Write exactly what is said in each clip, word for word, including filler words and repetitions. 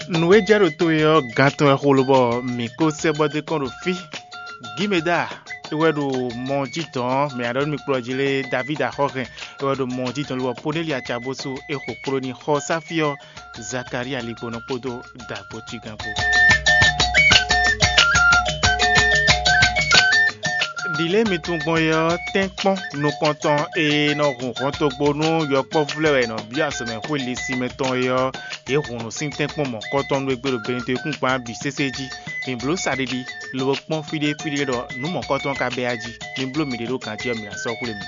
Nǔ e jɛ ɖo to e ɔ́, gan tɔn wɛ xo lobɔ mǐ ko sɛ́ bɔ dó kɔn ɖo fí. Gímeda é wɛ ɖo mɔ jí dɔn ɔ́, mǐ ná ɖɔ nú mi kplɔ́ jí lé, Davídi Axɔ́hɛn é wɛ ɖo mɔ jí dɔn lobɔ Poneli Acabósu é xo kpló ní xɔ sáfí ɔ́, Zakalía Ligbonɔ kpódó Dǎgbócígán kpó. Ɖi lě mi tunwun gbɔn é ɔ́, tɛ́nkpɔ́n nukɔntɔn e nɔ hun hɔntogbó nú yɔkpɔ́vú lɛ́ɛ wɛ è nɔ byɔ́ azɔ̌mɛxwé linsinmɛ tɔn é ɔ́, yě hun nǔ sín tɛ́nkpɔ́n mɔ̌kɔtɔn nú égbé ɖo Benedekúngban bǐ sésé jí. Mi bló saɖiɖi, lobo kpɔ́n fí ɖé fí ɖé ɖɔ nǔ mɔ̌kɔtɔn ka bɛ́ a jí. Mi bló miɖée ɖó ganjí ɔ́, mi ná sɔ́ xwlé mì.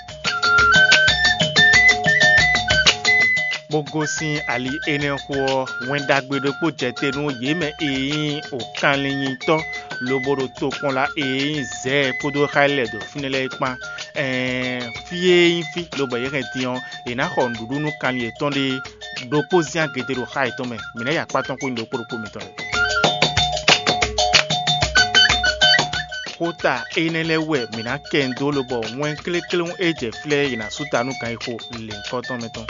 Bó gosín ali énɛ́ xo ɔ́, Wɛn Ɖagbe ɖokpó jɛ te nú yě mɛ e nyí wǒkanlínyitɔ́ lobo ɖo tokpɔnla e nyí Zɛɛ kpódó xá e lɛ́ ɖo fínɛ́ lɛ́ɛ é kpán. Ɛɛn, fí e nyí fí lobo yě hɛn din ɔ́, è nǎ xɔ nǔɖuɖu nú kanlin yětɔn ɖé ɖokpó zán gěgé ɖo xá yětɔn mɛ. Mǐ ná yi akpá tɔn xwé nú ɖokpó ɖokpó mitɔn lɛ́ɛ. Xota énɛ́ lɛ́ɛ wɛ mǐ ná kɛ nyi dó lobɔ wɛn klékléwún e jɛ flɛ́ è nǎ sú ta nú ganxixo lěhunkɔtɔn mɛ tɔn.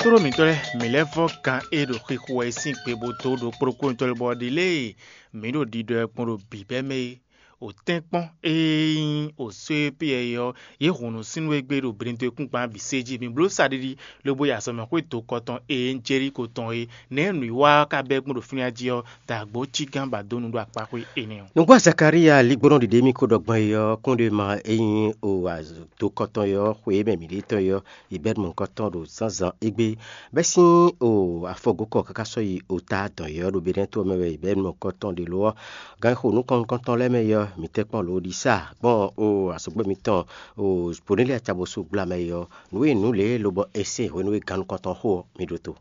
Tlóló mǐtɔn lɛ́ɛ, mǐ lɛ́ vɔ́ gan e ɖo xixo wɛ é sín gbe bó dó ɖo kplɔ́nkplɔ́n tɔn lɛ́ɛ bɔ ɖi lě e mǐ ɖo ɖiɖɔ ɛ gbɔn ɖo bǐbɛ́ mɛ é. Wǒtɛ́nkpɔ́n e nyí wǒsó e Piyɛ́ɛ ɔ́, yě hun nǔ sín nú égbé ɖo Benedekúngban bǐ sé jí. Mǐ bló saɖiɖi lobo yi azɔ̌mɛxwé dokɔ tɔn e nyí Jeliko tɔn é. Nɛ̌ nǔwiwa ɔ́ ka bɛ́ gbɔn ɖo fínɛ́ jí ɔ́, dǎgbó cí gán ba dó nu ɖó akpáxwé énɛ́ ɔ́. Nǔgbó Zakalía ligbɔnɔ ɖiɖe mì ko ɖɔ gbɔn é ɔ́, kúnɖéma e nyí o dokɔ tɔn é ɔ́, xwe e mɛ mǐ ɖe tɔn é ɔ́, yi bɛ́ mɔ̌hunkɔtɔn ɖo zǎnzǎn égbé. Bɛ́ sín o afɔgokɔ káká sɔ́ yi o ta dɔn é ɔ́ ɖo Benɛ́to ɔ́ mɛ wɛ yi bɛ́ mɔ̌hunkɔtɔn ɖe lo ɔ́. Ganxixo nukɔn nukɔntɔn lɛ́ɛ mɛ é ɔ́, mǐ tɛ́nkpɔ́n lǒ ɖi sá gbɔn o azɔ̌gbɛ́ mitɔn o Poneli Acabosú gbla mɛ é ɔ́, nǔ e nǔ lě lobɔ è se hwenu e gannukɔntɔn xo ɔ́, mi ɖótó.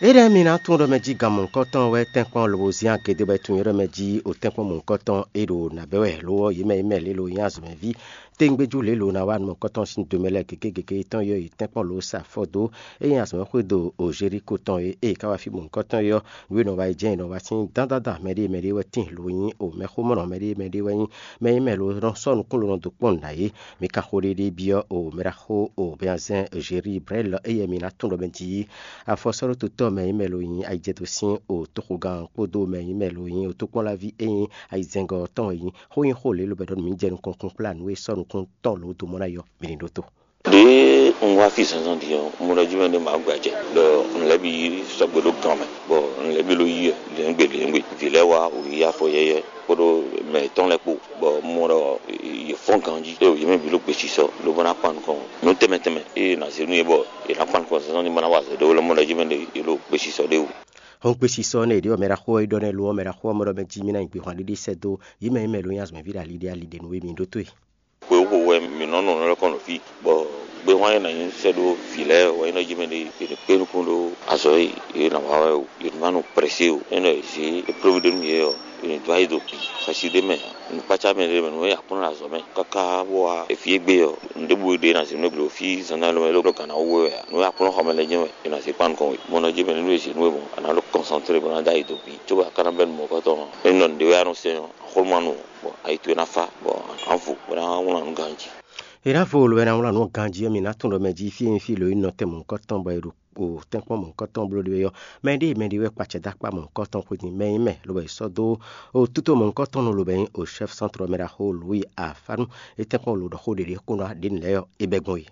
Énɛ́ mi ná tunwun ɖɔ mɛ jí gan mɔ̌hunkɔtɔn wɛ tɛ́nkpɔ́n lobo zín agě dó bɔ é tunwun ɖɔ mɛ jí o tɛ́nkpɔ́n mɔ̌hunkɔtɔn e ɖo nǎ bɛ́ wɛ lo ɔ́, yě mɛ e mɛ lě lo nyí azɔ̌mɛví. Tɛ́ngbéjú lě lo ná wá nukɔntɔn sín do mɛ lɛ́ɛ gěgé gěgé tɔn yɔ yi tɛ́nkpɔ́n lo sa afɔ dó. É nyí azɔ̌mɛxwé do o Jeliko tɔn e ée ká wá fí mɔ̌hunkɔtɔn yɔ nǔ e nɔ wa yi jɛ́n è nɔ wa sín dán dán dán mɛɖée mɛɖée wɛ tíin lo nyí o mɛxómɔnɔ mɛɖée mɛɖée wɛ nyí mɛ e mɛ lo nɔ sɔ́ nukún lo nɔ dó kpɔ́n nǔ ná é. Mi ka xo ɖéɖé byɔ́ o mɛɖaxó o Bɛnzɛ́n Zeribrɛ́li éyɛ́ mi ná tunwun ɖɔ mɛ jí afɔsɔ́ɖótotɔ́ mɛ e mɛ lo nyí ayijɛdo sín o toxogán kpódó mɛ e mɛ lo nyí o tókpɔ́nláví e nyí ayizɛ́ngɔ́ tɔn e nyí xó nyí xó lě lobɛ́ ɖɔ nǔ mì jɛ nukɔn kún kplá nǔ e sɔ́ nukún tɔn lǒ dó mɔ ná yɔ mi ní ɖótó. Ɖěe un wá fí zǎnzǎn din ɔ́, un mɔ ɖɔ jí mɛ ɖé ma gbɛ jɛ, ɖɔ un lɛ́ bǐ sɔgbe ɖó gan mɛ, bɔ un lɛ́ bǐ ló yí wɛ lěngbè lěngbè. Vǐ lɛ́ɛ wá wǔ yí afɔ yɛ́yɛ́ kpódó mɛ yětɔn lɛ́ɛ kpó, bɔ un mɔ ɖɔ yě fɔ́n ganjí, ɖó yě mɛ bǐ ɖo gbesisɔ, lobo ná kpan nukɔn nǔ tɛnmɛ tɛnmɛ e è nǎ zě nú yě bɔ yě ná kpan nukɔn zǎnzǎn ní ma ná wa azɔ̌ ɖé ó lɛ́ɛ mɔ ɖɔ jí mɛ ɖé yě ɖo gbesisɔ ɖé wú. Hɔn gbesisɔ nɛ è ɖě ɔ́, mɛ ɖaxó ɔ́ yi ɖɔ nɛ́ lo ɔ́, mɛ ɖaxó ɔ́ mɔ ɖɔ mɛ jí mì ná nyi gbehwan ɖiɖi sɛ́ dó yě mɛ e mɛ lo nyí azɔ̌mɛví ɖo ali ɖé ali ɖé nú we mi ɖótó e. Xwewú wɛ mǐ nɔ nɔ nɔ́ kɔn ɖo fí, bɔ gbéhwan e nǎ nyí sɛ́ ɖó vǐ lɛ́ɛ wɛ nyí nɔ jí mɛ ɖé è nǐ kpé nukún ɖó azɔ̌ e yě nǎ wa wɛ o, yě ní ma nɔ prɛsé o. É nɔ è zě éprɔ́vú ɖé nú yě ɔ́, è nǐ dó ayǐ do bǐ xɛsi ɖé mɛ ǎ. Nǔkpácá mɛ ɖé mɛ nǔ e Aklúnɔ azɔ̌ mɛ káká bó wá fí égbé ɔ́, nǔ ɖěbǔ ɖé ná zě nú égbé ɖo fí zǎnzǎn lɔmɛ ló gǎn ná wú we wɛ ǎ. Nǔ e Aklúnɔ xɔ mɛ lɛ́ɛ jɛ́n wɛ è nǎ zé kpan nukɔn we. Mɔ nɔ jí mɛ nínú e zě nú we mɔ̌, a nǎ ɖo kɔnsantlé bó ná dó ayǐ do bǐ, cóbɔ a ka ná bɛ́ nú mɔ̌hunkɔtɔn ɔ́. Ényí nɔ nǔɖé wɛ a nɔ sɛn ɔ́, axɔ́ nú ma nu o, bɔ ayi towe ná fá, bɔ a nǎ vo, bó ná wlán nǔ ganjí. È nǎ vo olǒ wɛ ná wlán nǔ ganjí ɔ́, mi ná tunwun ɖɔ mɛ jí fí e nyí fí lǒ nyí nɔtɛn mɔ̌hunkɔtɔn bɔ è ɖo o tɛ́nkpɔ́n mɔ̌hunkɔtɔn bló ɖe ɔ́, mɛ ɖíe mɛ ɖé wɛ kpacɛ dó akpá mɔ̌hunkɔtɔn xwé din mɛ nyí mɛ, lobo è sɔ́ dó o tútó mɔ̌hunkɔtɔn nú lobo nyí o chɛ́f sɛ́ntrɔ mɛ ɖaxó Louis Afanu. É tɛ́nkpɔ́n lo ɖɔ xó ɖě ɖě kún ná ɖě nǔ lɛ́ɛ ɔ́, é bɛ́ gbɔn we.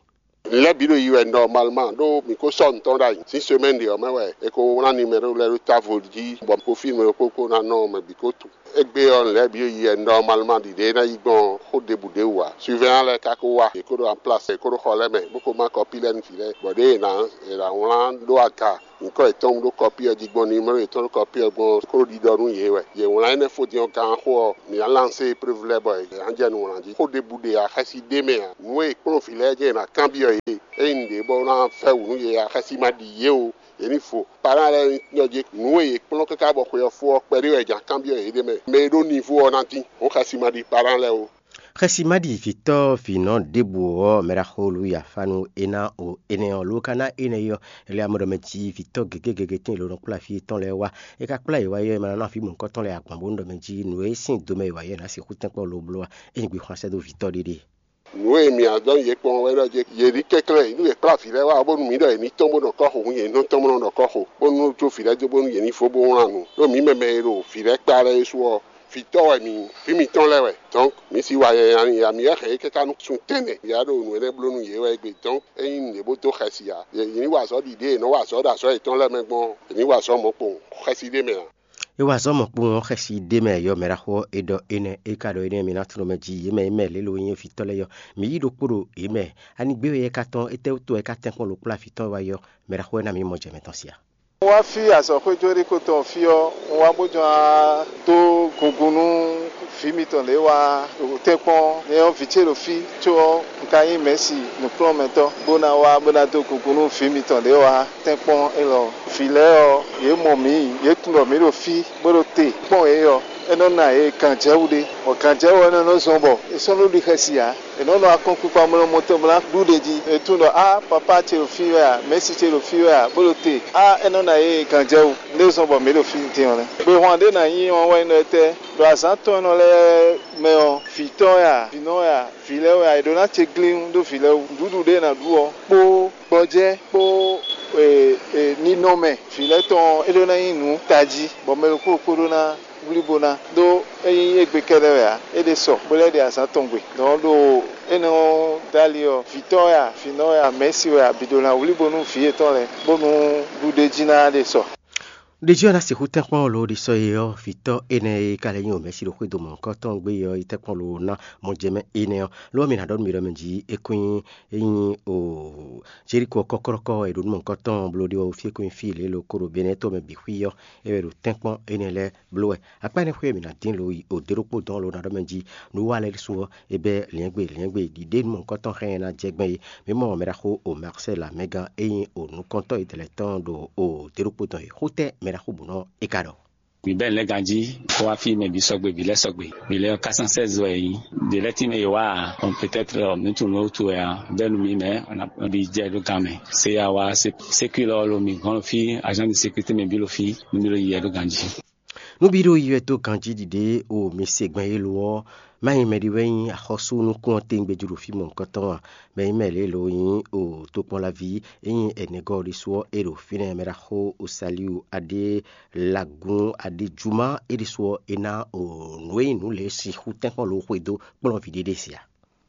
Lɛ̌ bǐ ɖo yi wɛ nɔmalman ɖó mǐ ko sɔ́ nǔ tɔn ɖ'ayǐ. Sín semɛ́ni ɖě ɔ́ mɛ wɛ è ko wlán nimɛɖó lɛ́ɛ ɖó távo jí bɔ mǐ ko fí nǔ e kó kó ná nɔ mɛ bǐ ko tunwun. Égbé ɔ́, lɛ̌ bǐ ɖo yi wɛ nɔmalman ɖiɖe e ná yi gbɔn xó ɖěbǔ ɖě wú ǎ. Surveillant lɛ́ɛ ka ko wá, yě ko ɖo anplás, yě ko ɖo xɔ lɛ́ɛ mɛ, bó ko má kɔpí lɛ́ɛ nú vǐ lɛ́ɛ, bɔ ɖěe è nǎ è nǎ wlán ɖó aga nyǐkɔ yětɔn ɖó kɔpí ɔ́ jí gbɔn, nimɛ́ro yětɔn ɖó kɔpí ɔ́ gbɔn ɔ́, kó ɖiɖɔ nú yě wɛ. Yě wlán énɛ́ fó din ɔ́ gán xó ɔ́, mǐ ná lansé épreuve lɛ́ɛ bɔ yě ná jɛ nǔ wlán jí. Xó ɖěbǔ ɖe ǎ, xɛsi ɖ'é mɛ ǎ. Nǔ e è kplɔ́n vǐ lɛ́ɛ jɛ́n è nǎ kanbyɔ́ yě, ényí nǔɖé bɔ ná fɛ́ wǔ nú yě ǎ, xɛsi ma ɖi yě o. Yě ní vo. Parán lɛ́ɛ nyí nɔ jí nǔ e yě kplɔ́n káká bɔ xwe ɔ́ fó ɔ́ kpɛɖé wɛ è jǎ kanbyɔ́ yě ɖ'é mɛ. Mɛ e ɖó nivo ɔ́ ná dín, hɔn xɛsi ma ɖi parán lɛ́ɛ o. Xɛsi ma ɖi vǐtɔ́ vǐnɔ ɖěbǔ ɔ́, mɛ ɖaxó Luwi Afánu é ná o énɛ́ ɔ́, ló ka ná énɛ́ ɔ́, é lɛ́ amɔ ɖɔ mɛ jí vǐtɔ́ gěgé gěgé tíin è lǒ nɔ kplá fí yětɔn lɛ́ɛ wá. É ka kplá yě wá ɔ́, é ma ná nɔ afí mɔ̌hunkɔtɔn lɛ́ɛ agban bónú ɖɔ mɛ jí nǔ e sín do mɛ è wa yɛ ná sixú tɛ́nkpɔ́n lo bló wá, é nyí gbe xwan sɛ́ dó vǐtɔ́ ɖé ɖe. Nǔ e mì adɔn yě kpɔ́n wɛ ɖɔ jɛ yě ní kɛnklɛ́n nú yě kplá vǐ lɛ́ɛ wá bónú mǐ ɖɔ yě ní tɔ́n bó nɔ kɔ́ xo, hǔn yě ní nɔ́ tɔ́n bó nɔ nɔ kɔ́ xo, bónú jó vǐ lɛ́ɛ jó bónú yě ní fó bó wlán nǔ. Ɖó mǐ mɛ mɛ e ɖo vǐ lɛ́ɛ kplá lɛ́ɛ é su ɔ́, vǐtɔ́ wɛ mǐ, vǐ mǐtɔn lɛ́ɛ wɛ. Dɔ̌nk, mǐ si wa nyanya n'i ǎ, mǐ wɛ hɛn yě káká nú sun tɛ́nnɛ, mǐ wá ɖo nǔ énɛ́ bló nú yě wɛ égbé. Dɔ̌nk, ényí nǔɖé bó dó xɛsi ǎ, yě ní wa azɔ̌ ɖiɖée è nɔ wa azɔ̌ ɖo azɔ̌ yětɔn lɛ́ɛ mɛ gbɔn ɔ́, è ní wa azɔ̌ mɔ̌kpɔn xɛsi ɖé mɛ ǎ. É wa azɔ̌ mɔ̌kpɔn ɔ́ xɛsi ɖé mɛ yɔ mɛ ɖaxó ɔ́, é ɖɔ énɛ́, é ka ɖɔ énɛ́, mi ná tunɔ mɛ jí yě mɛ, yě mɛ lě lo nyí vǐtɔ́ lɛ́ɛ yɔ, mǐ yí ɖokpó ɖo yě mɛ. Ani gbé wɛ yɛ ka tɔn, étɛ́wútu wɛ é ka tɛ́nkpɔ́n lo kplá vǐtɔ́ wá yɔ, mɛ ɖaxó ɛ ná mǐ mɔ jɛ mɛtɔn sia. Un wá fí azɔ̌xwéjlóɖíkó tɔn fí ɔ́, un wá bó jɔ́n wá dó gungun nú vǐ mitɔn lě wá ɖo tɛ́nkpɔ́n. Nyɛ ɔ́, vǐ ce ɖo fí, có ɔ́, un ka nyí mɛ̌si nǔkplɔ́nmɛtɔ́, bó ná wá bó ná dó gungun nú vǐ mitɔn lě wá tɛ́nkpɔ́n élɔ́. Vǐ lɛ́ɛ ɔ́, yě mɔ mǐ, yě tunwun ɖɔ mǐ ɖo fí, bó ɖo te kpɔ́n yě ɔ́, é nɔ́ ná yě gǎnjɛwú ɖé, bɔ gǎnjɛwú ɔ́ nɔ nɔ zɔn bɔ è sɔ́ nɔ ɖi xɛsi ǎ. È nɔ nɔ akɔ́nkpinkpan mlɔ́mlɔ́ tɔn bó ná ɖu ɖě jí. È tunwun ɖɔ á, papá ce ɖo fí wɛ a, mɛ̌si ce ɖo fí wɛ a, bó ɖo te. Á, é nɔ ná yě gǎnjɛwú. Nǔ e zɔ́n bɔ mǐ ɖo fí din ɔ́ nɛ́. Gbehwan ɖé ná nyí ɔ́ wɛ nyí ɖɔ étɛ́, ɖo azǎn tɔn e nɔ lɛ́ɛ mɛ ɔ́, vǐ tɔn wɛ a, vǐ nɔ wɛ a, vǐ lɛ́ɛ wɛ a, è ɖǒ ná ce glín ɖó vǐ lɛ́ɛ wú. Nǔɖuɖu ɖé è nǎ ɖu ɔ́ kpó gbɔjɛ́ kpó e, e, ninɔmɛ vǐ lɛ́ɛ tɔn ɔ́, é ɖó ná nyí nǔ tají, bɔ mɛ ɖokpó ɖokpó ɖó ná wlí bó ná, ɖó é nyí égbé kɛ́ɖɛ́ wɛ ǎ, é ɖe sɔ, bó lɛ́ ɖe azǎn tɔn gbe. Dɔ̌n ɖo énɛ́ ɔ́ dali ɔ́, vǐtɔ́ wɛ a, vǐnɔ wɛ a, mɛ̌si wɛ a, bǐ ɖó ná wlí bónú vǐ yětɔn lɛ́ɛ, bónú ɖuɖéjí ná ɖe sɔ. Ɖeji ɔ́ ná sixú tɛ́nkpɔ́n lo ɖi sɔ́ e ɔ́, vǐtɔ́ énɛ́ e ka lɛ́ nyí wǒmɛ́si ɖo xwédo mɔ̌hunkɔtɔn gbé ɔ́ yi tɛ́nkpɔ́n lo ná mɔ jɛ mɛ énɛ́ ɔ́. Lo ɔ́, mi ná ɖɔ nú mi ɖɔ mɛ jí é kún nyí é nyí o Jeriko ɔ́ kɔ́kɔ́rɔ́kɔ́ e ɖo nú mɔ̌hunkɔtɔn bló ɖé ɔ́, fí e kún nyí fí e lě lo ko ɖo Benɛ́ to mɛ bǐ xwí ɔ́, é wɛ ɖo tɛ́nkpɔ́n énɛ́ lɛ́ɛ bló wɛ. Akpá énɛ́ xwé e mǐ ná dín lo yi o dé ɖokpó dɔn lo ná ɖɔ mɛ jí nǔ wa lɛ́ɛ ɖésú ɔ́, é bɛ́ lǐɛ́ngbé lǐɛ́ngbé ɖiɖé nú mɔ̌hunkɔtɔn xá nyɛ ná jɛ gbɛn é. Mǐ mɔ mɛ ɖaxó o Marcel Amɛgán e nyí o nukɔntɔ́ e dɛ̌ lɛ́ɛ tɔn ɖo o dé ɖokpó dɔn é. Xó tɛ́ mɛ ɖaxó bǔ nɔ é ka ɖɔ? Mǐ bɛ́ nǔ lɛ́ɛ ganjí, bó wá fí mɛ bǐ sɔgbe, vǐ lɛ́ɛ sɔgbe. Vǐ lɛ́ɛ ɔ́, quatre cent seize wɛ yě nyí. Ɖě lɛ́ɛ tín mɛ yě wá ǎ, ɔn, peut-être ɔ́, mǐ tunwun nǔ e wútu wɛ ǎ. Bɛ́ nú mǐ mɛ, ɔn, ɔn, ná bí jɛ ɖó gan mɛ. Sé ya wá sé, sékúlɔ ɔ́ lo mǐ gɔ́n fí, agent de sécurité mɛ bǐ lo fí, nú mí lo yi yɛ ɖó ganjí. Nú bí ɖo yi wɛ dó ganjí ɖiɖe o mi se gbɛn e lo ɔ́, má nyí mɛ ɖé wɛ nyí axɔ́sú nukún ɔ́ tewungbe jí ɖo fí mɔ̌hunkɔtɔn ǎ. Mɛ nyí mɛ lě lo nyí o tokpɔnlaví e nyí ɛnɛgɔ́ ɖésú ɔ́, é ɖo fínɛ́. Mɛ ɖaxó Osaliu aɖé lagun aɖé juma é ɖésú ɔ́, é ná o nǔ e nyí nǔ lě sixú tɛ́nkpɔ́n lo xwedó kplɔ́nví ɖé ɖe sia.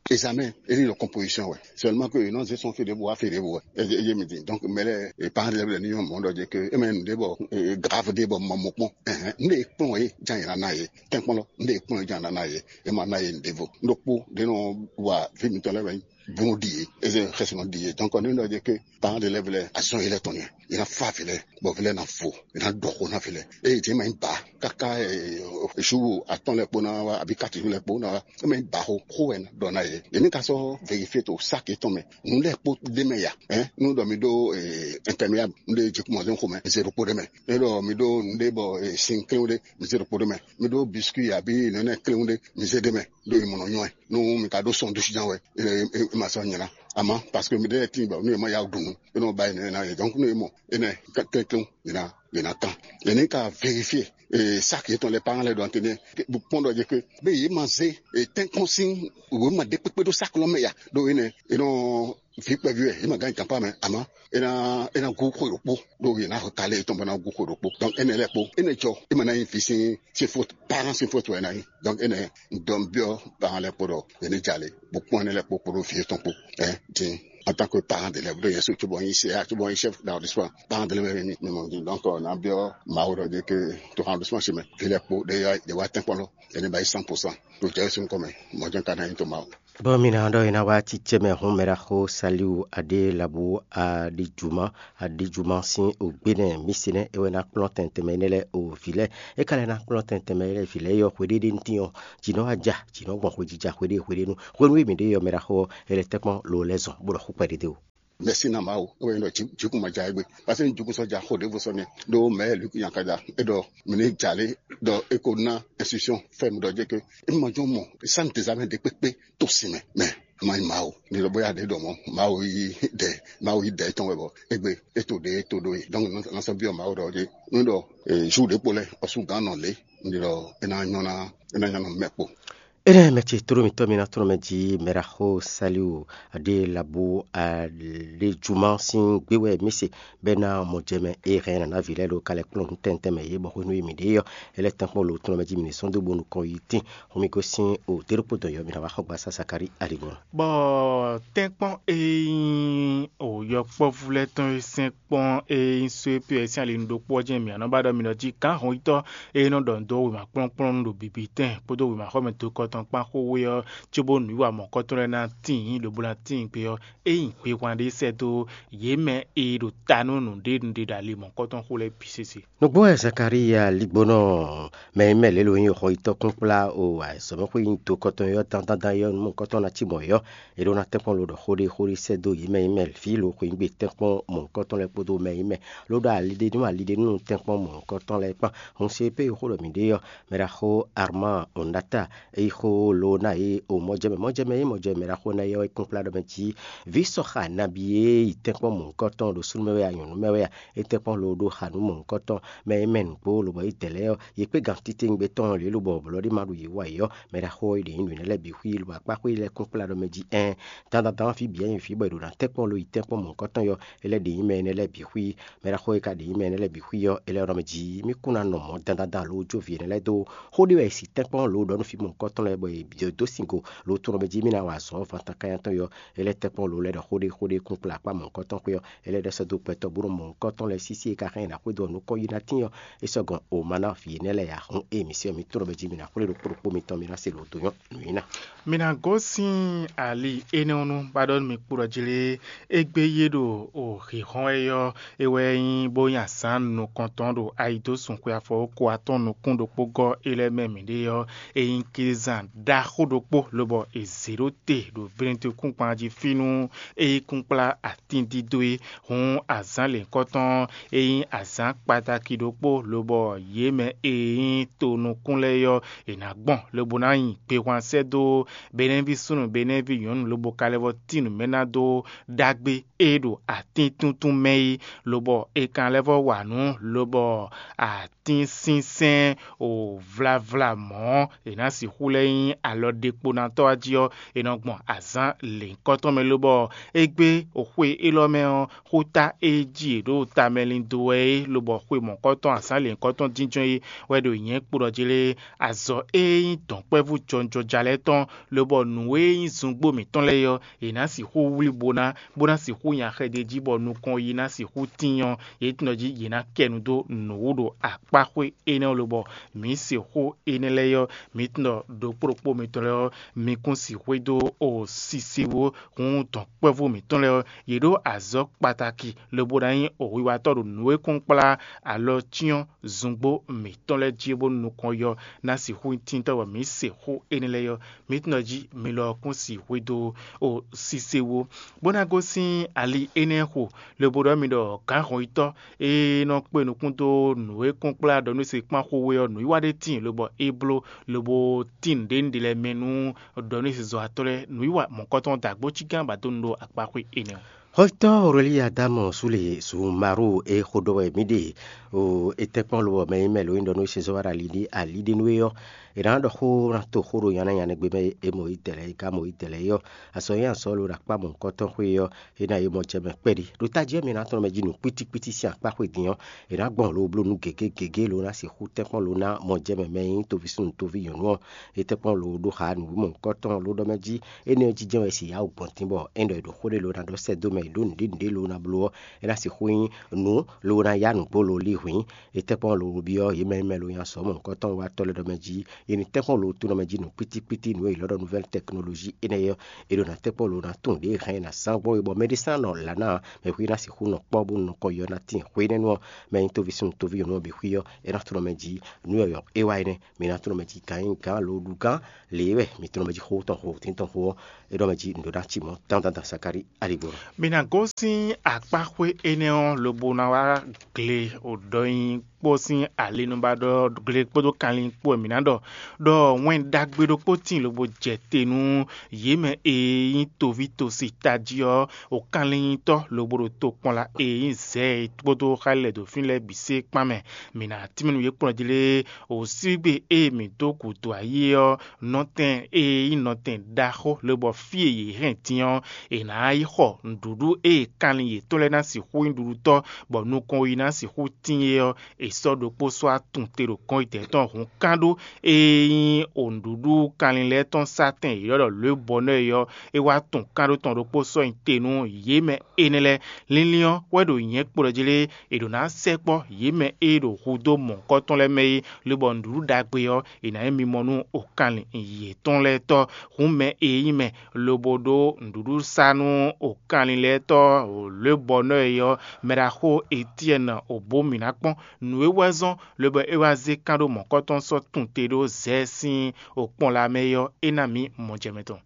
Examen, é ní ɖo composition wɛ. Seulement que non gestion fait de bois, fait de bois. Et je me dis, donc, mais les parents de l'élève ne m'ont dit que, et même des bois, grave des bois, mon mot. Ne kpɔn ye jan yɛrɛ n'a ye, tɛnkpɔn lɔ, ne kpɔn ye jan na ye, e ma na ye ndevo. Ɖokpó ɖe nɔ wa vi mitɔn lɛ wɛ bun ɖi ye, eze xɛsɔnɔ ɖi ye. Donc, ne ɖɔ je ke parents de l'élève lɛ azɔn ye lɛ tɔn ye, ye na fa vi lɛ, bɔ vi lɛ na fo, ye na ɖɔ xo na vi lɛ. Eye je ma nyi ba kaka, jour atɔn lɛ kpo na wa, abi kati lɛ kpo na wa, e ma nyi ba xo, xo wɛ na ɖɔ na ye. Ye ni ka sɔ vérifier to sac yetɔn mɛ, nu lɛ kpo ɖe mɛ ya, hein, nu ɖɔ mi ɖo imperméable, nu ɖe je kumɔ zɔn xo mɛ, zéro kpo ɖe mɛ. Ne ɖɔ mi ɖo nu ɖe bɔ sin klewu ɖe, mi zé ɖokpo ɖe mɛ. Mi ɖo biscuit abi nɛnɛ klewu ɖe, mi zé ɖe mɛ. Ɖo mi mɔ nɔ nyɔ ɛ. Nu mi ka ɖo sɔn ɖusi jan wɛ, e ma sɔ nyina. Ama parce que mi ɖe tin bɔ nu e ma ya ɖu nu, e nɔ ba yi nɛnɛ na ye. Donc nu e mɔ enɛ klewu, yina yina kan. Yɛnɛ ka vérifier sac yetɔn lɛ parents lɛ ɖo antenne. Kpɔn ɖɔ je ke be ye ma zé tɛnkpɔn sin, wo ma ɖe kpekpe ɖo sac lɔ mɛ ya. Ɖo enɛ e nɔ vi kpɛví wɛ, e ma gán yi kanpa mɛ, ama e na e na gu xwe ɖokpo, ɖo ye na xɔ kale etɔn bɔ na gu xwe ɖokpo. Donc enɛ lɛ kpo, enɛ jɔ, e ma na nyi vi sin sin faute, parent sin faute wɛ na nyi. Donc enɛ dɔn biɔ parent lɛ kpo ɖɔ ye ne jalè, bo kpɔn enɛ lɛ kpo kpo ɖo vi etɔn kpo. Ɛ din, en tant que parent d'élève, ɖo yɛn so tso bɔ nyi C A, tso bɔ nyi chef d'arrondissement, parent d'élève wɛ mi mi mɔ din. Donc na biɔ Mawu ɖɔ de ke to arrondissement si mɛ, vi lɛ kpo ɖe ya ɖe wa tɛnkpɔn lɔ, ye ne ba yi cent pour cent. To jɛ sun kɔmɛ, mɔ jɔn ka na nyi to Mawu. Bɔ mi ná ɖɔ é ná wá cícɛ́ mɛ hɔn mɛ ɖaxó Saliu Aɖélabu Aɖijuma Aɖijuma sín ògbénɛ mísínɛ́ é wɛ ná kplɔ́n tɛntɛnmɛ énɛ́ lɛ́ɛ o vǐ lɛ́ɛ. É ka lɛ́ ná kplɔ́n tɛntɛnmɛ lɛ́ɛ vǐ lɛ́ɛ yɔ hweɖéɖé ntín ɔ́, jǐ nɔ́ wá ja, jǐ nɔ́ gbɔn hwejíjá hweɖée hweɖénu. Hwenu e mǐ ɖe yɔ mɛ ɖaxó ɔ́, é lɛ́ tɛ́nkpɔ́n lo lɛ́ zɔn, bó ɖɔ xú kpɛɖédé o. Mɛ̌si ná Mawu, é wɛ nyí ɖɔ jǐ- jǐkún ma ja égbé. Paseke jǐkún sɔ́ ja xó ɖěvo sɔ́ nɛ́ ɖó mɛ̌ Luki Yankaja é ɖɔ mǐ ní jǎ lé ɖɔ é ko ná institution fɛ́nú ɖɔ jɛ ké é ma jɔn mɔ sán dezamɛ ɖé kpékpé tó sin mɛ mɛ ma nyí Mawu. Ní ɖɔ bóyá ɖě ɖɔ mɔ̌ Mawu yí dɛ Mawu yí dɛ tɔn wɛ bɔ égbé é to ɖě é to ɖó é. Donc ná sɔ́ byɔ́ Mawu ɖɔ jɛ ní ɖɔ jour ɖě kpo lɛ́ɛ ɔsúgán nɔ lě ní ɖɔ é ná nyɔ́ ná é ná nyɔ́ nɔ mɛ kpo. Énɛ́ mɛ ce tló mitɔ́ mi ná tlɔ́n mɛ jí mɛɖaxó Saliu Adélabu Alejuma sín gbé wɛ mì se bɛ́ ná mɔjɛmɛ e hɛn nǎ ná vǐ lɛ́ɛ ɖo kalɛ kplɔ́n nú tɛntɛn mɛ yě bɔ xwénú e mǐ ɖe ɔ́, é lɛ́ tɛ́nkpɔ́n lo tlɔ́n mɛ jí mǐ ní sɔ́ dó bónú kɔn yi tín. Hǔn mì gosín o dé ɖokpó dɔ̌n yɔ mǐ ná wá xɔ gbasá Sakalí Aligɔn. Bɔ tɛ́nkpɔ́n e nyí o yɔkpɔ́vú lɛ́ɛ tɔn e sɛn kpɔ́n e nyí só e Piyɛ́ɛ sín ali nú ɖokpó ɔ́ jɛ́n mǐ ná nɔ ba ɖɔ mi nɔ jí gǎn hɔnyitɔ́ e nɔ ɖɔ nǔ dó wěma kplɔ́nkplɔ́n nú ɖo bǐbítɛn kpódó wěmaxɔmɛ dokɔ tɔn kpán xó we ɔ́, cóbónú nǔwiwa mɔ̌kɔtɔn lɛ́ɛ ná tíin ɖo bó ná tíin gbe ɔ́, é nyí hwehwan ɖé sɛ́ dó yě mɛ e ɖo ta nú nǔɖé nǔɖé ɖo ali mɔ̌kɔtɔn xó lɛ́ɛ bǐ sésé. Nǔgbó wɛ Zakalíya ligbónɔ mɛ e mɛ lě lo nyí xɔyítɔ́ kúnkplá o azɔ̌mɛxwé nyí dokɔtɔn yɔ́ dandandan yɔ́ nú mɔ̌kɔtɔn ná cí mɔ̌ yɔ́. È ɖó ná tɛ́nkpɔ́n lo ɖɔ xó ɖé xó ɖé sɛ́ dó yě mɛ nyí mɛ fí lo xweyǐgbe tɛ́nkpɔ́n mɔ̌hunkɔtɔn lɛ́ɛ kpódó mɛ nyí mɛ ló ɖo ali ɖé nú ali ɖé nú tɛ́nkpɔ́n mɔ̌hunkɔtɔn lɛ́ɛ kpán. Hun se pé xó ɖɔ mǐ ɖe ɔ́, mɛɖaxó Arman Onata é xó lo ná yě o mɔjɛmɛ mɔjɛmɛ é mɔjɛmɛ mɛɖaxó ná yɔ́ é kúnkplá ɖɔ mɛ jí vǐ sɔxa nabí e yi tɛ́nkpɔ́n mɔ̌hunkɔtɔn ɖo súnnu mɛ wɛ a nyɔ̌nu mɛ wɛ a é tɛ́nkpɔ́n lo ɖó xa nú mɔ̌hunkɔtɔn mɛ e mɛ nǔgbó lobɔ é dɛ lɛ́ɛ ɔ́, yě kpé gantitewungbe tɔn lě lobɔ blɔ̌ ɖé ma ɖo yě wa yě ɔ́, mɛɖaxó e ɖě nyí nǔ énɛ́ lɛ́ɛ bǐ xwí lobɔ akpá xwé lɛ́ɛ kún kplá ɖɔ mɛ jí ɛn dandandan fí bǐ ɛ nyí fí bɔ è ɖo ná tɛ́nkpɔ́n lo yi tɛ́nkpɔ́n mɔ̌hunkɔtɔn yɔ é lɛ́ ɖě nyí mɛ énɛ́ lɛ́ɛ bǐ xwí. Mɛɖaxó e ka ɖě nyí mɛ énɛ́ lɛ́ɛ bǐ xwí ɔ́, é lɛ́ ɖɔ mɛ jí mí kún ná nɔ mɔ̌ dandandan lo jó vǐ énɛ́ lɛ́ɛ dó xó ɖé wɛ è si tɛ́nkpɔ́n lo ɖɔ nú fí mɔ̌hunkɔtɔn lɛ́ɛ bɔ è dó singo lo tunɔ mɛ jí mí ná wa azɔ̌ vantan kánya tɔn yɔ é lɛ́ tɛ́nkpɔ́n lo lɛ́ɛ ɖɔ xó ɖé xó ɖé kún kplá akpá mɔ̌hunkɔtɔn xwé ɔ́, é lɛ́ ɖɔ sɛ́ dó gbɛtɔ́ bó nɔ mɔ̌hunkɔtɔn lɛ́ɛ sísí e ka hɛn nǎ xwedó ɔ́ nukɔn yi ná tín ɔ́, é sɔ́ gɔn o ma ná vǐ énɛ́ lɛ́ɛ ǎ. Hǔn ée mǐ se ɔ́, mǐ tunɔ mɛ jí mǐ ná xwlé ɖokpó ɖokpó mitɔn mǐ ná se lǒ dó nyɔ́ nǔ nyi ná. Mi ná gosín ali énɛ́ ɔ́ nú ba ɖɔ nú mi kpo ɖɔ jlé égbé yé ɖo o hǐnhɔ́n wɛ ɔ́, é wɛ nyí bó nyi azǎn nukɔntɔn ɖo ayidósun xwe afɔwókɔ atɔn nukún ɖokpó gɔ́ é lɛ́ɛ mɛ mǐɖée ɔ́, é nyí klízán ɖaxó ɖokpó lobɔ è zě ɖó te ɖo vlɛ́ntekúnkpan jí fínú é yi kún kplá atíndídó é. Hǔn azǎn lěhunkɔtɔn e nyí azǎn kpataki ɖokpó lobɔ yě mɛ e nyí tonukún lɛ́ɛ ɔ́, è nǎ gbɔn lobo ná nyi gbehwan sɛ́ dó Benɛ́ví súnnu Benɛ́ví nyɔ̌nu lobo ka lɛ́ vɔ́ tín nǔ mɛ ná dó ɖagbe e ɖo atín túntún mɛ é, lobɔ è ka lɛ́ vɔ́ wa nǔ lobɔ atínsínsɛ́n o vlávlá mɔ̌ è nǎ sixú lɛ́ nyí alɔ ɖekponatɔ́ ɔ́ jí ɔ́, è nɔ gbɔn azǎn lěhunkɔtɔn mɛ lobɔ égbé xwe élɔ́ mɛ ɔ́, xúta e jí è ɖǒ tamɛlin dó wɛ é, lobɔ xwe mɔ̌kɔtɔn azǎn lěhunkɔtɔn jínjɔ́n é wɛ ɖo nyɛ̌ kpo ɖɔ jí lé. Azɔ̌ e nyí dɔ̌nkpɛvú jɔnjɔja lɛ́ɛ tɔn, lobɔ nǔ e nyí zungbó mǐtɔn lɛ́ɛ ɔ́, è nǎ sixú wlí bó ná bó ná sixú nyi axɛ d'é jí bɔ nukɔn yi ná sixú tín ɔ́, yě tɔn jí yě ná kɛ nu dó nǔ wú ɖo akpáxwé énɛ́ lobɔ mǐ se xó énɛ́ lɛ́ɛ ɔ́, mǐ tɔn ɖokpó ɖokpó mitɔn lɛ́ɛ ɔ́, mi kún sixwé dó o sisiwó hun dɔ̌nkpɛvú mǐtɔn lɛ́ɛ ɔ́, yě ɖó azɔ̌ kpataki lobo ná nyí o wiwatɔ́ ɖo nǔ e kún kplá alɔ cyɔ́n zungbó mǐtɔn lɛ́ɛ jí bónú nukɔn yɔ ná sixú nyí tíntɔ́ bɔ mǐ se xó énɛ́ lɛ́ɛ ɔ́, mǐ tɔn jí mi lɔ kún sixwé dó o sise wú, bó ná gosín ali énɛ́ xo, lobo ɖɔ mi ɖɔ gǎnhɔnyitɔ́ e nɔ kpé nukún dó nǔ e kún kplá ɖɔ nú se kpán xó we ɔ́, nǔwiwa ɖé tíin lobɔ é bló, lobo tín nǔɖé nǔɖé lɛ́ɛ mɛ nú ɖɔ nú se zɔ̌watɔ́ lɛ́ɛ nǔwiwa mɔ̌kɔtɔn dó agbócígán ba dó nu ɖó akpáxwé énɛ́ ɔ́. Hɔjítɔ́ Orelíya Damɔ Súle Zumaru e xo ɖɔ wɛ mǐ ɖe o, e tɛ́nkpɔ́n lobɔ mɛ e mɛ lǒ nyí ɖɔ nú Sezɔ́wara ali ɖé ali ɖé nú é ɔ́, è nǎ ɖɔ xó ná to xó ɖo nyanɛ nyanɛ gbe mɛ e mɔ yi dɛ̌ lɛ́ɛ e ka mɔ yi dɛ̌ lɛ́ɛ é ɔ́, azɔ̌ e azɔ̌ lo ɖo akpá mɔ̌hunkɔtɔn xwé é ɔ́, é ná yi mɔ jɛ mɛ kpɛɖi. Ɖo tají ɔ́, mi ná tlɔ́n mɛ jí nǔ kpítíkpítí sín akpá xwé din ɔ́, è nǎ gbɔn lǒ bló nú gěgé gěgé lo ná sixú tɛ́nkpɔ́n lo ná mɔ jɛ mɛ mɛ e nyí toví súnnu toví nyɔ̌nu ɔ́, é tɛ́nkpɔ́n lo ɖó xa nǔ mɔ̌hunkɔtɔn lo ɖɔ mɛ jí. Énɛ́ ɔ́ jínjɔ́n wɛ si yá wǔ gbɔn dín bɔ é ɖɔ è ɖo xó ɖé lo ná ɖɔ sɛ́ dó mɛ e ɖó nǔɖé nǔɖé lo ná bló ɔ́, é ná sixú nyí nǔ lo ná yá nǔgbó lo lí hwǐn. É tɛ́nkpɔ́n lo byɔ́ yě mɛ e mɛ lo nyi azɔ̌ mɔ̌hunkɔtɔn wa tɔ́ lɛ́ɛ ɖɔ mɛ jí, è nǐ tɛ́nkpɔ́n lo tunɔ mɛ jí nǔ kpítíkpítí nǔ e è ylɔ́ ɖɔ nouvelle technologie énɛ́ ɔ́, è ɖo ná tɛ́nkpɔ́n lo ná tunwun ɖě hɛn è nǎ zán gbɔn é bɔ mɛɖé sán nɔ lǎ ná mɛ xwí ná sixú nɔ kpɔ́ bó nɔ kɔ yɔ ná tíin hwénɛ́nu ɔ́, mɛ e nyí toví súnnu toví nyɔ̌nu ɔ́ bǐ xwí ɔ́, é ná tunɔ mɛ jí nǔ yɔ̌yɔ́ é wá énɛ́. Mi ná tunɔ mɛ jí gǎn nyí gǎn lo ɖu gǎn lě e wɛ mi tunɔ mɛ jí xó tɔn xo tín tɔn xo ɔ́, é ɖɔ mɛ jí nǔɖó ná ci mɔ̌ tán tán tán Sakalí aligbó. Mi Nǎ gosín akpáxwé énɛ́ ɔ́ lobo ná wá gle ɖɔ nyi kpó sín ali nu ba ɖɔ gle kpódó kanlin kpó wɛ mǐ ná ɖɔ, ɖɔ wɛn ɖagbe ɖokpó tíin lobo jɛ te nú yě mɛ e nyí toví tosi tají ɔ́, o kanlin nyitɔ́ lobo ɖo tokpɔnla e nyí zɛ̌ e kpódó xá lɛ́ɛ ɖo fínɛ́ lɛ́ɛ bǐ sé kpán mɛ. Mǐ ná tínmɛ nú yě kplɔ́n jí lé, o sígbe e mǐ dó gǔdo ayé ɔ́, nɔtɛn e nyí nɔtɛn ɖaxó lobɔ fí e yě hɛn din ɔ́, è nǎ yi xɔ nǔɖuɖu e kanlin yětɔn lɛ́ɛ ná sixú nyí ɖuɖutɔ́, bɔ nukɔn yi ná sixú tíin é ɔ́, è sɔ́ ɖokpó sɔ́ atun te ɖo gɔ́n yětɛn tɔn hǔn kán ɖó e nyí o nǔɖuɖu kanlin lɛ́ɛ tɔn sá tɛn e è ylɔ́ ɖɔ lěbɔnɛ́ é ɔ́, é wá tun kán ɖó tɔn ɖokpó sɔ́ nyi te nú yě mɛ énɛ́ lɛ́ɛ. Linlin ɔ́ wɛ ɖo nyɛ̌ kplɔ́ jí lé, è ɖǒ ná sɛkpɔ́ yě mɛ e ɖo hudó mɔ̌hunkɔtɔn lɛ́ɛ mɛ é, lobɔ nǔɖuɖu ɖagbe ɔ́, è nǎ nyí mimɔ nú okanlin yětɔn lɛ́ɛ tɔ́. Hǔn mɛ e nyí mɛ lobo ɖó nǔɖuɖu sá nú okanlin lɛ́ɛ tɔ́ lěbɔnɛ́ é ɔ́, mɛɖaxó Etyɛ́ni Obomina kpɔ́n. Nǔ e wɛ zɔ́n lobɔ é wá zé kán ɖó mɔ̌kɔ́tɔn sɔ́ tun te ɖó Zɛɛ sín okpɔ́n lɛ́ɛ mɛ é ɔ́, é ná mǐ mɔjɛmɛ tɔn.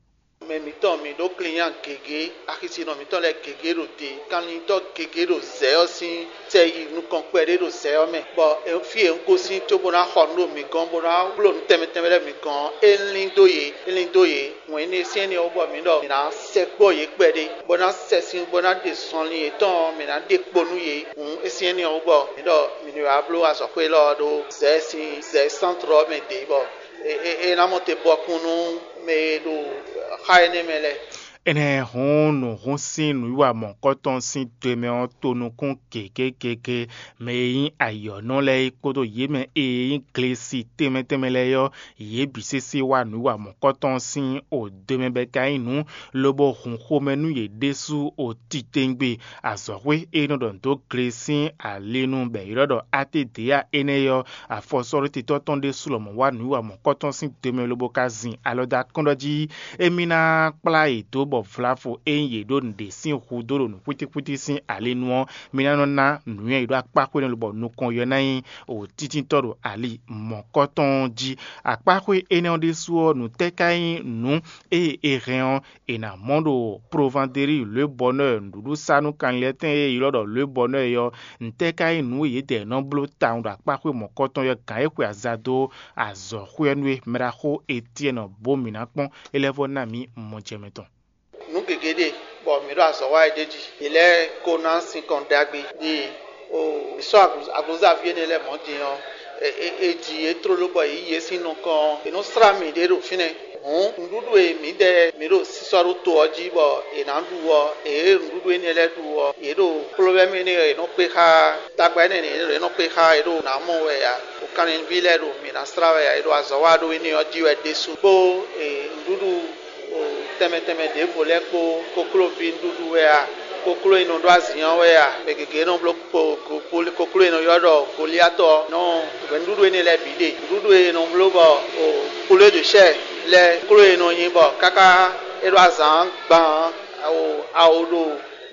Mɛ mǐtɔn mǐ ɖó klinya gěgé, axisinɔ mǐtɔn lɛ́ɛ gěgé ɖo te, kanlintɔ́ gěgé ɖo zɛ ɔ́ sín sɛ yi nukɔn kpɛɖé ɖo zɛ ɔ́ mɛ, bɔ fí e un gosín cóbó ná xɔ nǔ ɖo mǐ gɔ́n, bó ná bló nǔ tɛnmɛ tɛnmɛ lɛ́ɛ mǐ gɔ́n ɔ́, é lín dó yě, é lín dó yě. Wɛn énɛ́ syɛ́n nɛ́ ɔ́ bɔ mǐ ɖɔ mǐ ná sɛkpɔ́ yě kpɛɖé, bó ná sɛ sín, bó ná ɖe zɔnlin yětɔn ɔ́, mǐ ná ɖe kpo nú yě. Hǔn é syɛ́n nɛ́ ɔ́ bɔ mǐ ɖɔ mǐ ní wá bló azɔ̌xwé élɔ́ ɔ́ ɖó zɛ sín zɛ sántrɔ ɔ́ mɛ ɖě, bɔ é ná mɔ te bɔkún nú mɛ e ɖo xá énɛ́ mɛ lɛ́ɛ. Énɛ́ hǔn nǔhún sín nǔwiwa mɔ̌hunkɔtɔn sín do e mɛ ɔ́ to nukún gěgé gěgé. Mɛ e nyí ayɔ̌nɔ lɛ́ɛ é kpódó yě mɛ e nyí glesi tɛnmɛ tɛnmɛ lɛ́ɛ ɔ́, yě bǐ sésé wá nǔwiwa mɔ̌hunkɔtɔn sín o do e mɛ bɔ é ka nyí nǔ, lobo hun xomɛ nú yě ɖésú o titewungbe. Azɔ̌xwé e nɔ ɖɔ nǔ dó gle sín ali nu bɔ è ylɔ́ ɖɔ Atedea énɛ́ ɔ́, afɔsɔ́ɖótitɔ́ tɔn ɖésú lɔmɔ̌ wá nǔwiwa mɔ̌kɔ́tɔn sín do mɛ lobo ka zin alɔ dó akɔ́nɖɔ jí. Émí ná kplá yě dó bɔ vlavo e nyí yě ɖó nǔɖé sín hudó ɖo nǔxwítíxwítí sín ali nu ɔ́, mi ná nɔ ná nǔnywɛ́ yě ɖó akpá xwé nɔ lobɔ nukɔn yɔ ná nyí o títíntɔ́ ɖo ali mɔ̌kɔ́tɔn jí. Akpá xwé énɛ́ ɔ́ ɖésú ɔ́, nǔ tɛ́ ka nyí nǔ e è hɛn ɔ́, è nǎ mɔ ɖo Provandeli Lwebɔnɔ nǔɖuɖu sa nú kanlin lɛ́ɛ tɛn e è ylɔ́ ɖɔ Lwebɔnɔ é ɔ́, ntɛ́ ka nyí nǔ e yědɛɛ nɔ bló tawun ɖo akpáxwé mɔ̌kɔtɔn ɔ́ gǎn e xwe aza dó azɔ̌xwé ɔ́ nú é? Mɛɖaxó Etyɛ́ni bó mǐ ná kpɔ́n, é lɛ́ vɔ́ ná mǐ mɔjɛmɛ tɔn. Nǔ gěgé ɖe, bɔ mǐ ɖo azɔ̌ wa é ɖ'é jí. Yě lɛ́ ko ná sinkɔn ɖagbe ɖi o. Mǐ sɔ́ aglǔzaví énɛ́ lɛ́ɛ mɔ̌ din ɔ́, è ji yě tlóló bɔ è yí yě sín nukɔn ɔ́, è nɔ slá mǐ ɖě ɖo fínɛ́. Hǔn nǔɖuɖu e mǐdɛɛ mǐ ɖo sísɔ́ ɖó to ɔ́ jí bɔ è nǎ ɖu ɔ́, ě nǔɖuɖu énɛ́ lɛ́ɛ ɖu ɔ́, yě ɖo kplɔ́vɛ́mɛ énɛ́ ɔ́, è nɔ kpé xá tagba énɛ́ lɛ́ɛ è nɔ kpé xá, yě ɖo nǎ mɔ wɛ ǎ. Kanlin ví lɛ́ɛ ɖo mǐ ná slá wɛ ǎ, è ɖo azɔ̌ wa ɖó énɛ́ ɔ́ jí wɛ ɖésú. Kpó nǔɖuɖu tɛnmɛ tɛnmɛ ɖěvo lɛ́ɛ kpó koklóví nǔɖuɖu wɛ a? Kokló e nɔ ɖó azǐn ɔ́ wɛ a? Mɛ gěgé nɔ bló kokló e nɔ ylɔ́ ɖɔ Goliatɔ ɔ́ nɔ hwɛ̌ nǔɖuɖu énɛ́ lɛ́ɛ bǐ ɖe. Nǔɖuɖu e nɔ bló bɔ poulet de chair lɛ́ɛ kokló e nɔ nyi bɔ káká é ɖó azǎn gban awo ɖo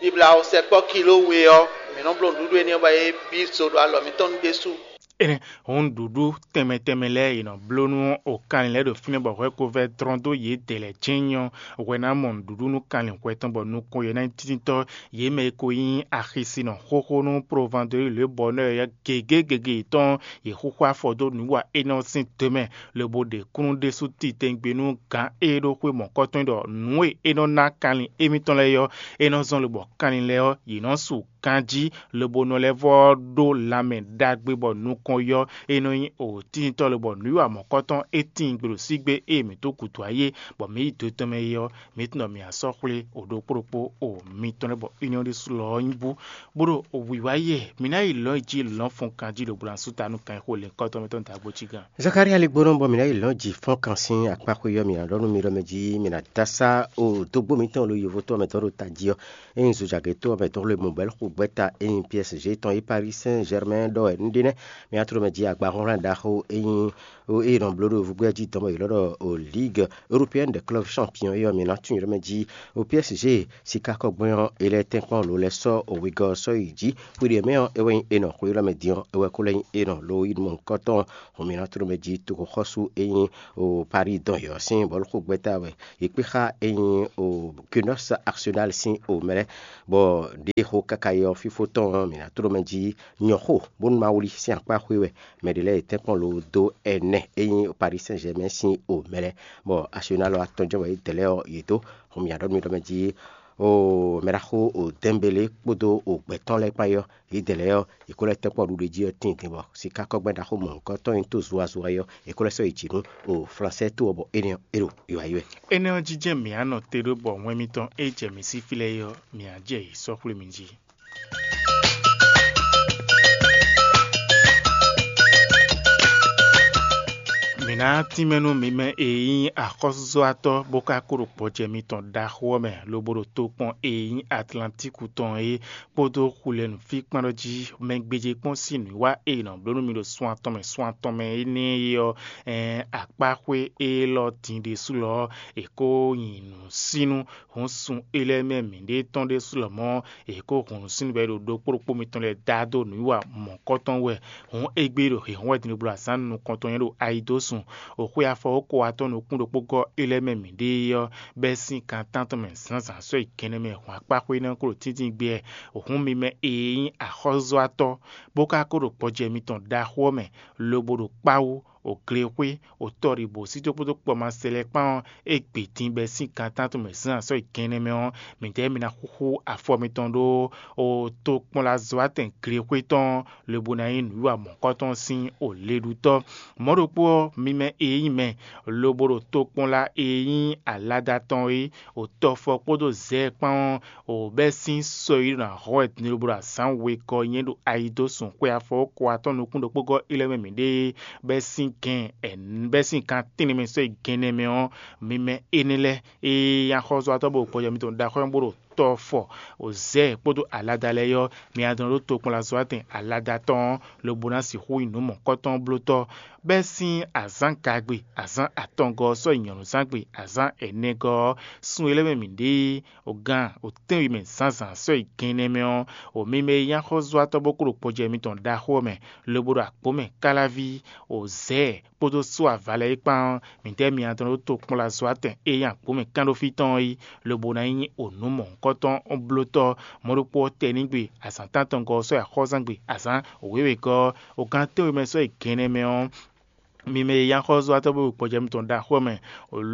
bibla sɛkpɔ́ kiló we ɔ́, mǐ nɔ bló nǔɖuɖu énɛ́ ɔ́ bɔ é bí zo ɖo alɔ mǐtɔn nu ɖésú. Énɛ́ hǔn nǔɖuɖu tɛnmɛ tɛnmɛ lɛ́ɛ è nɔ bló nú okanlin lɛ́ɛ ɖo fínɛ́ bɔ hwɛkovɛ́ dlɔ́n dó yědɛɛ lɛ́ɛ jɛ́n nyɔ́. Hwɛ ná mɔ nǔɖuɖu nú kanlin hwɛ tɔn bɔ nukɔn yě ná nyí títítɔ́. Yě mɛ e ko nyí axisinɔ xóxó nú Provandoli Lwebɔnɔ ɔ́ gěgé gěgé yětɔn, yě xúxú afɔ dó nǔwa énɛ́ ɔ́ sín do mɛ, lobo ɖe kúnnu ɖésú titewungbe nú gǎn e ɖó xwé mɔ̌kɔ́tɔn é ɖɔ nǔ e é nɔ ná kanlin émítɔn lɛ́ɛ ɔ́, é nɔ zɔ́n lobɔ kanlin lɛ́ɛ ɔ́, yě nɔ su ganjí, lobo nɔ lɛ́ vɔ́ ɖó lanmɛ ɖagbe bɔ nukɔn yɔ, é nɔ nyí òtíntɔ́ lobɔ nǔwiwa mɔ̌kɔtɔn é tíin gbe ɖo sígbe ée mǐ dó gǔdo ayé, bɔ mǐ yi do tɔn mɛ é ɔ́, mǐ tunwun ɖɔ mǐ ná sɔ́ xwlé o ɖokpó ɖokpó o mitɔn lɛ́ɛ bɔ union ɖésú lɔ ɔ́ nyí bú, bó ɖo wǐwá yɛ mǐ ná yi lɔ̌n yi jí lɔ̌n fɔ́n ganjí ɖo blanasúta nú kan e xo lɛ̌nkɔ́tɔn mɛ tɔn dǎgbó cí gán. Zakalía lí gbónɔ bɔ mǐ ná yi lɔ̌n ji fɔ́n kan sín akpáxwé ɔ́, mǐ ná ɖɔ nú mi ɖɔ mɛ jí mǐ ná dó asá o dógbó mǐtɔn ɖo yovo tɔn mɛ tɔn ɖo tají ɔ́. Ényí zojagě tó ɔ́ mɛ dó xwlé mɔ̌ bɔ é xo gbɛ́ta ényí P S G tɔn yi Paris Saint Germain ɖɔ wɛ un ɖe nɛ́. Mǐ ná tló mɛ jí agbaxúnxlán ɖaxó ényí O eye nɔ bló ɖo vúgbɛ́ jí dɔn bɔ yě lɔ ɖɔ o Ligue Européenne des Clubs Champions é ɔ́, mǐ ná tunwun yě ɖɔ mɛ jí o P S G sikákɔgbɛ́n ɔ́, é lɛ́ tɛ́nkpɔ́n lo lɛ́ sɔ́ o wegɔ́ ɔ́ sɔ́ yi jǐ. Xwéɖiɛ mɛ ɔ́, é wɛ nyí enɔ xwé élɔ́ mɛ din ɔ́, é wɛ kó lɛ́ nyí enɔ lo yi nɔ kɔ́tɔn. Hɔn mǐ ná tunwun mɛ jí toxɔxɔ́sú e nyí o Paris dɔn yě ɔ́ sín bɔ̌luxogbɛ́ta wɛ. Yě kpé xá e nyí o Gunners Arsenal sín o mɛ lɛ́ɛ, bɔ ɖěxo káká yi ɔ́, fífó tɔn ɔ́, mǐ ná tunwun mɛ jí nyɔ̌xo bónú ma wlí sín akpá xwé wɛ. Mɛ ɖě lɛ́ɛ yě tɛ́nkpɔ́n lo dó ɛnɛ e nyí Paris Saint-Germain sín o mɛ lɛ́ɛ, bɔ Arsenal atɔn jɛ́n wɛ yě dɛ lɛ́ɛ ɔ́ yě dó. Hɔn mǐ ɖɔ nú mi ɖɔ mɛ jí o mɛ ɖaxó o Dɛ́nbelé kpódó o gbɛ̌ tɔn lɛ́ɛ kpán é ɔ́, yě dɛ lɛ́ɛ ɔ́, yě kó lɛ́ tɛ́nkpɔ́n ɖuɖu jí ɔ́ tíin din bɔ sikákɔ́gbɛ́ ɖaxó mɔ̌hunkɔtɔn e nyí tó zuazua é ɔ́, yě kó lɛ́ sɔ́ yi jǐ nú o Flansɛ́ to ɔ́, bɔ énɛ́ ɔ́, é ɖo yiyi wɛ. Énɛ́ ɔ́ jínjɛ́n mǐ á nɔ te ɖó bɔ wɛn mitɔn e jɛ mǐ sí fí lɛ́ɛ é ɔ́, mǐ á jɛ yě sɔ́ xwlé mi jí. Mǐ ná tínmɛ nú mi mɛ e nyí axɔ́súzɔ́watɔ́ bó ka kó ɖo gbɔjɛ mitɔn ɖaxó ɔ́ mɛ, lobo ɖo tokpɔn e nyí Atlantíku tɔn é kpódó xulɛnu fí kpán ɖɔ jí mɛ gbéjé kpɔ́n sín nǔwiwa e è nɔ bló nú mi ɖo sun atɔn mɛ sun atɔn mɛ énɛ́ é ɔ́, ɛɛn akpáxwé élɔ́ din ɖésú lɔ ɔ́, è kó nyi nǔsínnú. Hǔn sun é lɛ́ɛ mɛ mǐɖée tɔn ɖésú lɔmɔ̌, è kó hun nǔsínnú bɔ é ɖo ɖokpó ɖokpó mitɔn lɛ́ɛ dá dó nǔwiwa mɔ̌kɔtɔn wɛ. Hǔn égbé ɖo hǐnhɔ́n wɛ din ɖo bló azǎn nukɔntɔn nyɛ ɖo ayi dó sun. Xwe afɔ ko atɔn nukún ɖokpó gɔ́ é lɛ́ɛ mɛ mǐɖée ɔ́, bɛ́ sín kan tántɔn mɛ zǎnzǎn sɔ́ yi gɛnɛ mɛ hɔn akpáxwé énɛ́ kó ɖo tíntín gbé wɛ. Hǔn mi mɛ e nyí axɔ́zɔ́watɔ́, bó ka ko ɖo gbɔjɛ mitɔn ɖaxó ɔ́ mɛ, lobo ɖo kpáwú, o glexwé, o tɔɖibǒsítɔ́ kpódó kpɔmasɛ lɛ́ɛ kpán ɔ́, é gbe din bɛ́ sín gan tántɔn mɛ zǎn sɔ́ yi gɛnɛ mɛ ɔ́, midɛɛ mi ná xúxú afɔ mitɔn ɖó o tokpɔnlazɔ́watɛn glexwé tɔn, lobo ná nyí nǔwiwa mɔ̌kɔtɔn sín o leɖútɔ́. Mɔ̌ ɖokpó ɔ́, mi mɛ e nyí mɛ, lobo ɖo tokpɔnla e nyí alada tɔn é, o tɔfɔ kpódó zɛ̌ kpán ɔ́, o bɛ́ sín sɔ́yi ɖo ná hɔ́ wɛ din lobo ɖo azǎn wegɔ́ nyɛ ɖo ayi dó sun xwe afɔ ko atɔ́ nukún ɖokpó gɔ́ é lɛ́ɛ mɛ mǐɖée, bɛ́ sín gɛn ɛn bɛ́ sín kan tɛ́nnɛ mɛ sɔ́ yi gɛnɛ mɛ ɔ́, mi mɛ énɛ́ lɛ́ɛ e nyí axɔ́zɔ́watɔ́ bó ɖo gbɔjɛ́ mitɔn ɖaxó ɔ́ bó ɖo tɔ fɔ, o zɛ̌ kpódó alada lɛ́ɛ ɔ́, mi adɔn ɖó tokpɔnlazɔ́watɛn alada tɔn ɔ́, lobo ná sixú nyí nǔ mɔ̌kɔtɔn blótɔ́, bɛ́ sín azǎn gagbe, azǎn atɔngɔ́ ɔ́ sɔ́ yi nyɔ̌nuzángbe, azǎn ɛnɛgɔ́ ɔ́, sun e lɛ́ɛ mɛ mǐ ɖe é, o gan o tɛ́nwe mɛ zǎnzǎn sɔ́ yi gɛnnɛ mɛ ɔ́, o mi mɛ e nyí axɔ́zɔ́watɔ́ bó kó ɖo gbɔjɛ́ mitɔn ɖaxó ɔ́ mɛ, lobo ɖo agbǒ mɛ káláví, o zɛ̌ kpódó só ava lɛ́ɛ é kpán ɔ́, mǐdɛɛ mi adɔn ɖó tokpɔnlazɔ́watɛn e nyí agbǒ mɛ kanɖófí tɔn ɔ́ yi, lobo ná nyí o nǔ mɔ̌hunkɔtɔn blótɔ́. Mɔ̌ ɖokpó ɔ́ tɛnígbe, azǎn tántɔngɔ́ ɔ́ sɔ́ yi axɔ́zángbé, azǎn wěwegɔ́ ɔ́, o gan tɛ́nwe mɛ sɔ́ yi gɛnnɛ mɛ ɔ́, mi mɛ e nyí axɔ́zɔ́watɔ́ bó ɖo gbɔjɛ́ mitɔn ɖaxó ɔ́ mɛ,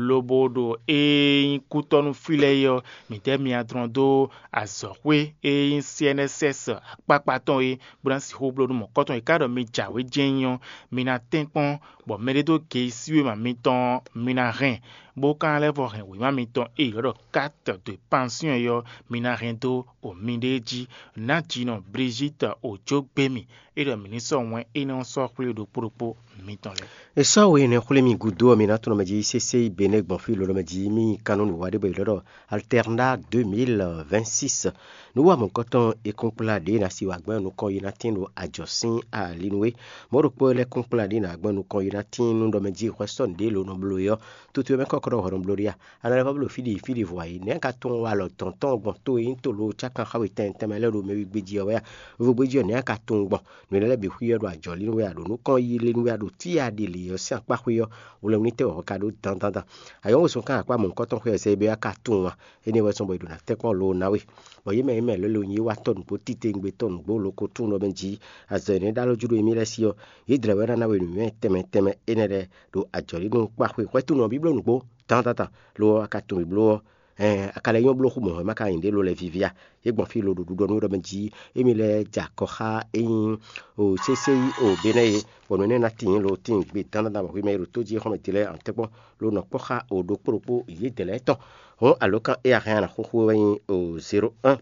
lobo ɖo ée nyí kútɔ́ nú fí lɛ́ɛ é ɔ́, mǐdɛɛ mi adɔn dó azɔ̌xwé e nyí C N S S akpákpá tɔn é, bó ná sixú bló nú mɔ̌kɔtɔn e ka ɖɔ mi jǎwe jɛ́n nyí ɔ́, mi ná tɛ́nkpɔ́n, bɔ mɛɖé dó ge e sí wěma mitɔn ɔ́, mi ná hɛn, bó ka ná lɛ́ vɔ hɛn wěma mitɔn e è ylɔ́ ɖɔ carte de pension é ɔ́, mi ná hɛn dó o miɖée jí. Nǎjinɔ Brigitte Ojo gbé mì, é ɖɔ mǐ ní sɔ́ wɛn énɛ́ ɔ́ sɔ́ xwlé ɖokpó ɖokpó mitɔn lɛ́ɛ. È sɔ́ we énɛ́ xwlé mì gúdo ɔ́, mi ná tunɔ mɛ jí sésé yi Benɛ́ gbɔn fí lǒ mɛ jí mì nyí kannú nǔwiwa ɖé bɔ è ylɔ́ ɖɔ Alternat deux mille vingt-six. Nǔ wa mɔ̌hunkɔtɔn e kɔn kplá ɖě ná si wǎ gbɛn nukɔn yi ná tín ɖo ajɔ̌ sín ali nú we. Mɔ̌ ɖokpó lɛ́ kɔn kplá ɖě ná gbɛn nukɔn yi ná tín nú ɖɔ mɛ jí hwɛ sɔ́ nǔɖé lo nɔ bló é ɔ́, tutu e mɛ kɔ́ kɔ ɖɔ hwɛ nɔ bló ɖé a? A nɔ lɛ́ vɔ bló fí ɖi fí ɖěvo ǎ é, nɛ̌ a ka tunwun walɔ dɔ̌n tɔn gbɔn to e nyí to lo cákan xá we tɛnmɛ tɛnmɛ lɛ́ɛ ɖo mɛ wí gbé jí ɔ́ wɛ a? Vovo gbé jí ɔ́, nɛ̌ a ka tunwun gbɔn? Nǔ énɛ́ lɛ́ɛ bǐ xwí ɔ́ ɖo ajɔ̌ lí nú we a, ɖo nukɔn yi lé nú we a, ɖo tíya ɖi lě ɔ́ sín akpá xwé ɔ́, hwlɛngún tɛ́ wɛ hwɛ ka ɖó dandandan? Ayɔ́ wosɔn kan akpá mɔ̌hunkɔtɔn xwé ɔ́ sɛ é bɛ́ a ka tunwun a? Énɛ́ wɛ sɔ́ bɔ è ɖo ná tɛ́nkpɔ́n lo ná we. Bɔ yě mɛ yě mɛ lɛ́ lo nyí wá tɔ́ nǔgbó titewungbe tɔ́ nǔgbó lo ko tunwun ɖɔ mɛ jí azɔ̌ énɛ́ ɖó alɔ jú ɖo émí lɛ́ɛ sí ɔ́, yě dlɛ̌ wɛ ná ná we nǔnywɛ́ tɛnmɛ tɛnmɛ énɛ́ lɛ́ɛ ɖo ajɔ̌ lí nú kpá xwé hwɛ́túnɔ bí bló nǔgbó dandandan, lo ɔ́ a ka tunwun bló ɔ́, ɛɛn a ka lɛ́ nyɔ́ bló xú mɔ̌ wɛ má ka nyí ɖě lo lɛ́ɛ víví a? Yě gbɔn fí lo ɖo ɖuɖɔ nú we ɖɔ mɛ jí émí lɛ́ɛ jɛ akɔ xá é nyí o sésé yi o Benɛ́ é, bɔ nǔ énɛ́ ná tíin lo tíin gbe dandandan bɔ hwi mɛ e ɖo tó jí é xɔ́mɛ din lɛ́ɛ an tɛ́nkpɔ́n lo nɔ kpɔ́ xá o ɖokpó ɖokpó yě dɛ lɛ́ɛ tɔn. Hɔn alǒkan e a hɛn a nǎ xúxú wɛ nyí o zéro un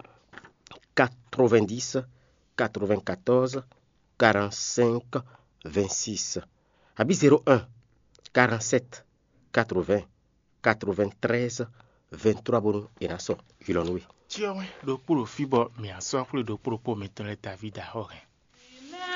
quatre-vingt-dix quatre-vingt-quatorze quarante-cinq vingt-six, abǐ zéro un quarante-sept quatre-vingts quatre-vingt-treize vingt-trois bónú è nǎ sɔ́ ylɔ́ nú we. Cyɔ wɛn ɖokpó ɖo fí bɔ mǐ á sɔ́ xwlé ɖokpó ɖokpó mitɔn lɛ́ɛ Davídi axɔ́ hɛn.